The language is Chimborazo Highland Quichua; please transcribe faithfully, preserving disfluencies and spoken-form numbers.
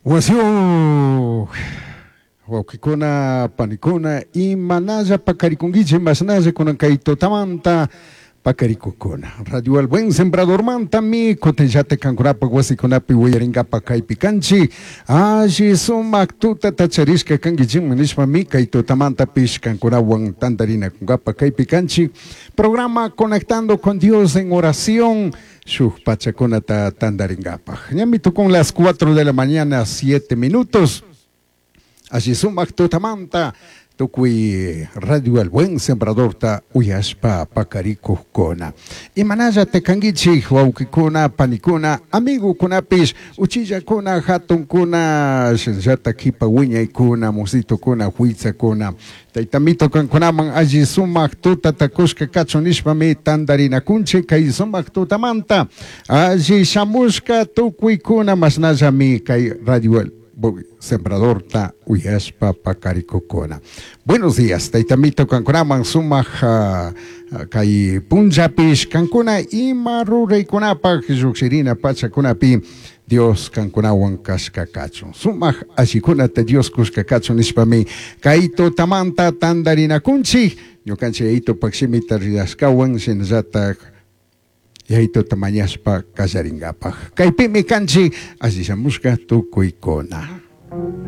Wasiyuq wawqikuna, panikuna, imanalla pakarikunkichik, mashnalla kunan kay tutamanta pakarikukuna. Radio El Buen Sembradormantami kutinllata kankunapaq wasikunapi willarinkapak kaypi kanchik. Alli sumak tutata charishka kankichikman nishpami kay tutamantapish kankunawan tantarinakunkapak kaypi kanchik. Programa Conectando con Dios en Oración, shuk pachakunata tantarinkapaq. Ñami tukun las cuatro de la mañana, siete minutos. Alli sumak tutamanta tukuy Radio El Buen Sembradorta uyashpa pakarikuqkuna. Imanalla kankichik wawqikuna, panikuna, amigukunapish, uchillakuna, hatunkuna, shinallata kipa wiñaykuna, musitukuna, huitzakuna. Taytamito kankunaman alli sumak tutata kushka kachun nishpami tantarinakunchik kay sumak tutamanta. Alli shamushka tukuykuna mashnallami kay Radio El Sembradorta uyashpa pakarikukuna. Buenos días, taytamito kankunaman sumak uh, kay punllapish kankuna ima ruraykunapaq lluqshirina pachakunapi Dios kankunawan kashka kachun. Sumak allikunata Dios kushka kachun nishpami kay tutamanta tantarinakunchik ñukanchik yayitupak shimita rirashkawan shinallatak yayituta mañashpa kallarinkapak. Kaypimi kanchik alli shamushka tukuykuna.